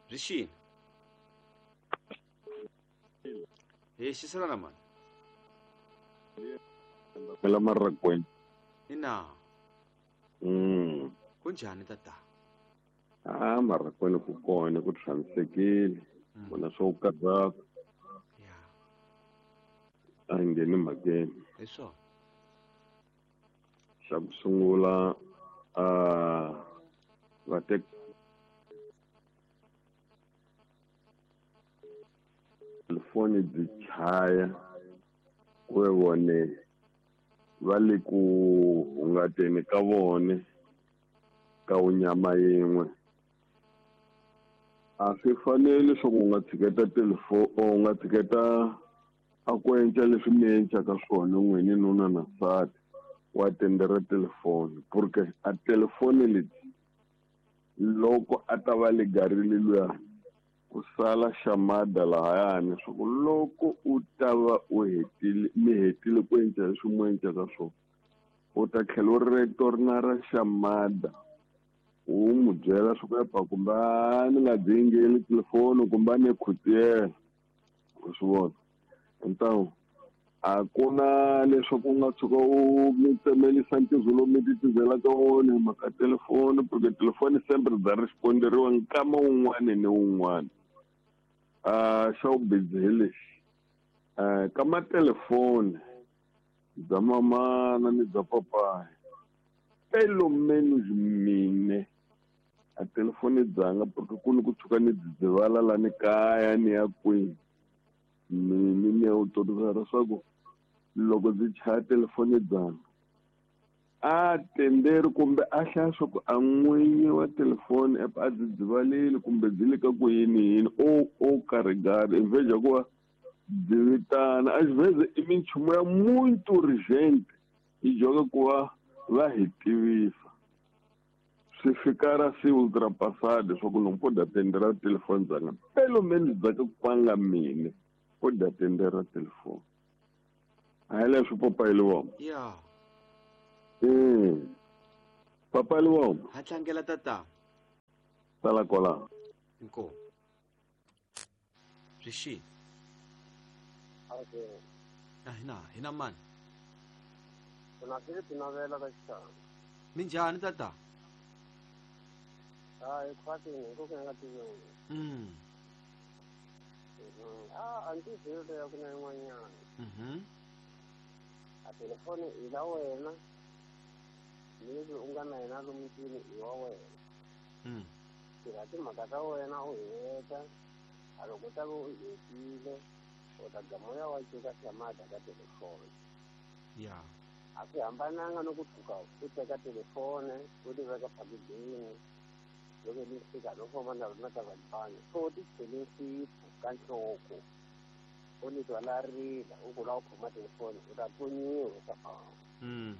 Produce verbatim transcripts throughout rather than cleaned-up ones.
Byi xini? Hi xiselana mani. La Marrakwena. Ina. Mm. Kunjhani tata? Ah, Marrakwena ku kona ku tshamisekile. Vona swo karhata. Ya. A ngheni mhakeni. Hi swona. Xa ku sungula a va tek telefoni byi chaya ku ve vone va le ku hungateni ka vone ka wunyama yin'we. A swi fanele leswaku u nga tshiketa telefoni u nga tshiketa a ku endla leswi mi endlaka swona n'wini nuna na nsati wa tendera telefoni porque a telefoni leti loko a ta va legarile luya ku sala xamada lahayani leswaku loko u ta va u hetile mi hetile ku endla leswi mu endlaka swona u ta tlhela u retorna ra xamada u n'wi byela swa ku epa kumbe a ni nga dingeli telefoni kumbe a ni khutiyela u swi vona. Então a ku na leswaku u nga tshuka u mi tsemelisa ntirho lowu mi titizelaka wona hi mhaka telefoni porque telefoni sempre bya responderiwa nkama wun'wani ni wun'wani. A xa vubizi hi lexi ka matelefoni bya mamana ni bya papayi pelo menos mine a telefoni dzanga porque ku ni ku tshuka ni dzidzivala la ni kaya ni ya kwini mini ni ya utorisa leswaku loko ndzi chaya telefoni dzanga a tenderi kumbe a hlaya swa ku a n'winyi wa telefoni app a dzidzivalile kumbe byi le ka ku yini yini o o karigari in vez ya ku va byi vitana a xivheze i minchumu ya muito urgente yi joga ku va va hi tivisa swi fika ra se ultrapassade leswaku loko ko dya tendera telefoni dzanga pelo menos dzaka kwanga mine ko dya tendera telefoni a hi leswi papayi liwoma. Ya. Mm. Papa liwoma. Ha tlangela tata. Sala kwala. Inkomu. Byi xini? Okay. A hina hina mani? Kuna swi tinavela ka xitanga. Minjhani tata? Hayi khwatini ku nga tiviwi. Mm. Ah, a ndzi byeli ya ku na yin'wanyana. Mhm. A telefoni i la wena. Leswi u nga na yena lomu ndlwini i wa wena. Mm. Tirha timhaka ta wena u heta. A loko u ta va u hetile u ta gama u ya wa cika xamada ka telefoni. Ya. A swi hambananga no ku tshuka u teka telefoni u ti veka phakidini loko li fika no famba na rona ka vanhwana so ti chele nsipho ka nhloko u ni twa la rila u ku lava ku khoma telefoni u ta tlonyiwa swa famba. Mm.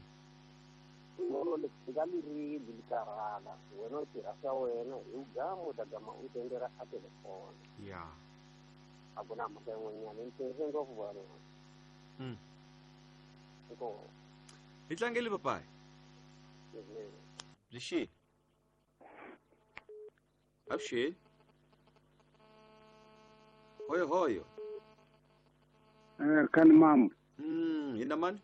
Ngolo li fika li rili li karhala wena u tirha swa wena hi gama u ta gama u tendera a telefoni. Ya. A ku na mhaka yin'wanyana ni tirhise ngopfu vana. Mm. Inkomu. Hi tlangeli papayi. Byi xini? Avuxeni. Hoyo hoyo. Eh, kani mambo. Mm, hina mani?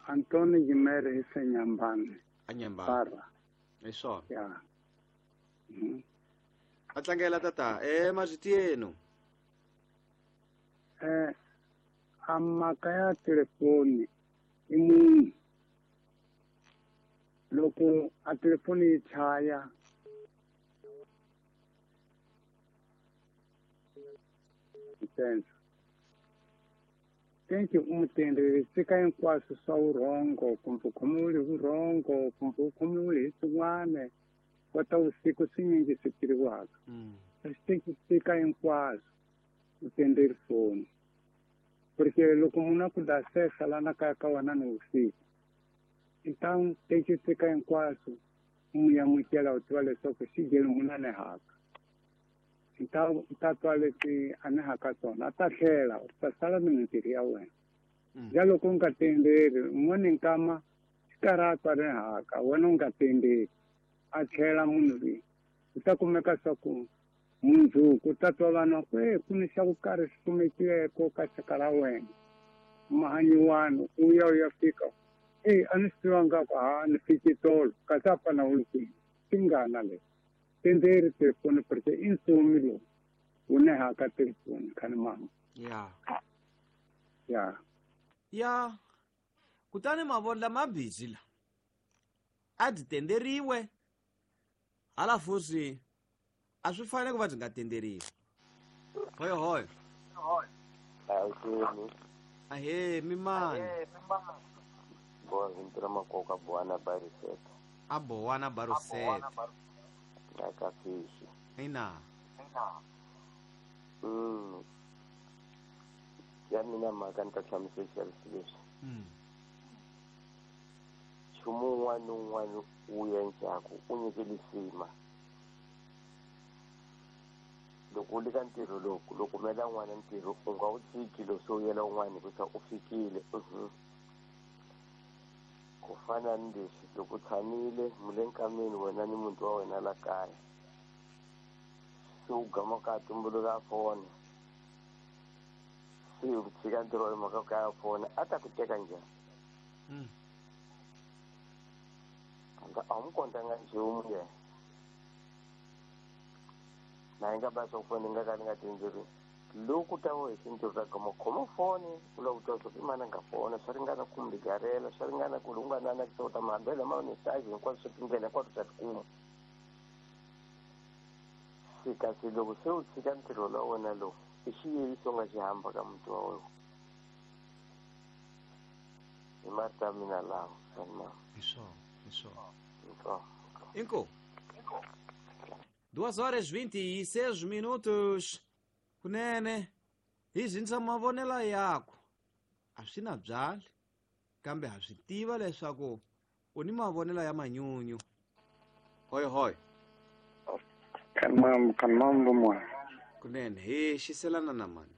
Antoni Jimere hi Senyambani. Anyambani. Para. Hi swona. Ya. Mm. A tlangela tata, eh marito yenu. Eh, a mhaka ya telefoni i munhu loko a telefoni yi chaya ntsena tenki u mu tenderi sika hinkwaswo swa vurhongo kumbe u khomiwile hi vurhongo kumbe u khomiwile hi swin'wana kota vusiku swinyingi swi tiriwaka. Xi sika hinkwaswo u tenderi foni porque loko munhu a ku dasesa lana kaya ka wena ni vusiku então tenki sika hinkwaswo u mu yamukela u tiva leswaku xi geli munhu a ni haka. Então u ta twa leswi a ni haka swona a ta tlhela u ta sala ni mintirho ya wena. Ja loko u nga tenderi un'wana nkama xi karhi a twa ri haka wena u nga tenderi a tlhela munhu loyi Ku ta kumeka swa ku mundzuku ta twa vanhu ku e ku ni xa ku karhi xi kumekileko ka xaka ra wena mahanyiwani u ya u ya fika e a ni swi tivanga ku ha ni fiki tolo kasi a fana u ri kwini tingana leyi tenderi telefoni porque i ntsumi lowu wu nehaka telefoni khani mama ya ya ya kutani mavondla ma busy la a byi tenderiwe hala fusi a swi fanele ku va byi nga tenderiwi hoyo hoyo ahe mimani boa vintura makoka boana bariseta a boana baruseta na ka fishi ina mm ya mina mhaka ni ta hlamusela leswi mm nchumu wun'wana ni wun'wana wu endlaku u nyike lisima loko u le ka ntirho lowu loko kumela n'wana ntirho u nga wu tshiki lo se u yela un'wana hikusa u fikile ku fana ni leswi loko u tshamile mu le nkameni wena ni muti wa wena la kaya se u gama ka tumbuluka fona se u tshika ntirho wa mhaka ka ya fona a ta ku teka njhani mm a wu n'wi kontanga nchumu yena na yi nga ba swa foni nga ka ni nga tenderiwi loko ta wo hi ntirho ta gama khoma foni u lava ku twa swa ku i mani a nga fona swa ringana ku mi garela swa ringana ku u nga na na ta mahambelo ma message hinkwaswo swa tindlela hinkwato ta tikuma se kasi loko se u tshika ntirho la wena lowu i xiyeiso u nga xi hamba ka muti wa wena hi marito ya mina lawa sanima hi swona hi swona Inko. Duas horas vinte e seis minutos. Kunene hi zinsa mavonelo yako a swi na byali kambe ha swi tiva leswaku u ni mavonelo ya manyunyu hoyo hoyo kanmam kanmam lumwa kunene hi xiselana na mani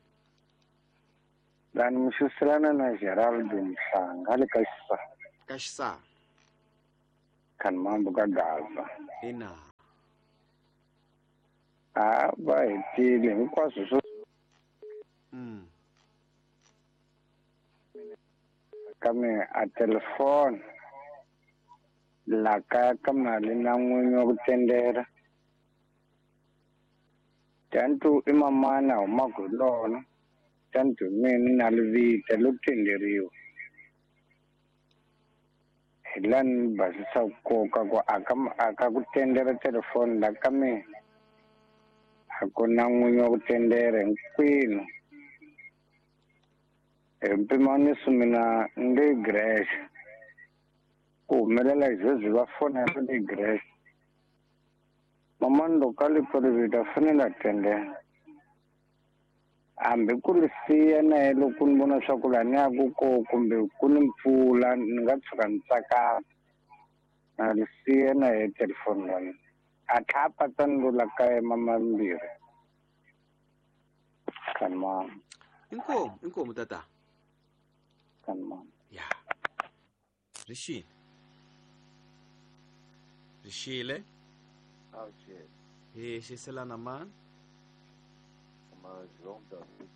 lani mi xiselana na Geraldo Mhlanga le ka Xisa ka Xisa kanmambo ka Gaza ina a va hetile hinkwaswo swo mm ka me a telefoni la kaya ka mali na n'winyi wa ku tendera tantu i mamana humaka hi lona tantu mina na livita lo tenderiwa hi la ni basisa nkoka ku aka aka ku tendera telefoni la ka mina a ku na n'winyi wa ku tendera hinkwenu hi mpimaniso mina ni le Greece ku humelela sweswi va fonela le Greece mamani loko a li pfalivita fanele a tendela hambi ku ri siya na ye loko ni vona swa ku laha ni yaku kona kumbe ku ni mpfula ni nga tshuka ni tsakama na ri siya na ye telefoni ya mina a tlha a patsa ni lo la kaya mambirhi kanmama inkomu inkomu tata kanmama ya rixile rixile hi xiselana mani João David